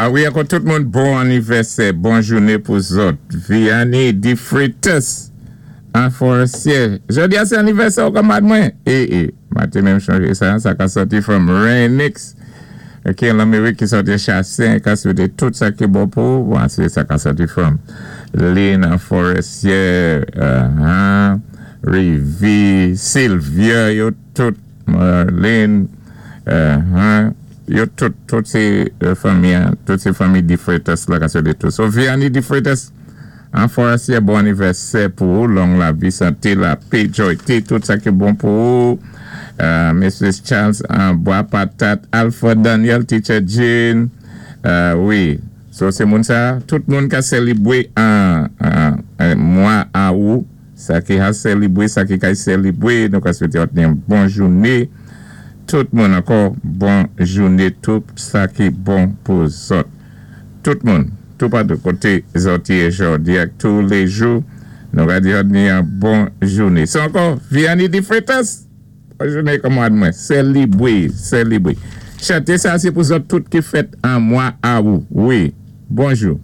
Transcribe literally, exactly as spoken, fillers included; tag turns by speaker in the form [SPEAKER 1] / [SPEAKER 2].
[SPEAKER 1] A wi, ankò tout moun, bon anivèsè, bon jouné pou zòt. Vianney Di Freitas, an Forestier. Jòdi a sé anivèsè ou kanmad mwen? É, é, ma té menm chonjé sa, sa ka sòti from Renix. Ki an Lamérik, ki sòti Chassin, ka swété tout sa ki bon pou, bon, sé sa ka sòti from Lynn an Forestier, uh, Rivi, Sylvia, yo tout, Marlene, uh, yo tout, tout sé fanmi, tout sé fanmi Di Freitas la ka swété tout. So, Vianney Di Freitas, an Forestier, bon anivèsè pou ou, long lavi, santé, lapè, joyté, tout sa ki bon pou ou. Uh, Missus Charles an Bois Patate, Alpha Daniel, Teacher Jean, uh, wi, so sé moun sa, tout moun ka sélibwé an, an, an mwa awou, sa ki ka sélibwé, sa ki ka sélibwé, nou ka swété yon bon jouné, tout moun ankò, bon jouné, tout sa ki bon pou zòt. Tout moun, tout patou koté zòt yé jòdi ak tou lé jou, nou ka di yon bon jouné. So ankò, Vianney Di Freitas, bon jouné kanmad mwen, sélibwé, sélibwé. Chanté sa sé pou zòt tout ki fèt an mwa awou. Wi, bonjou.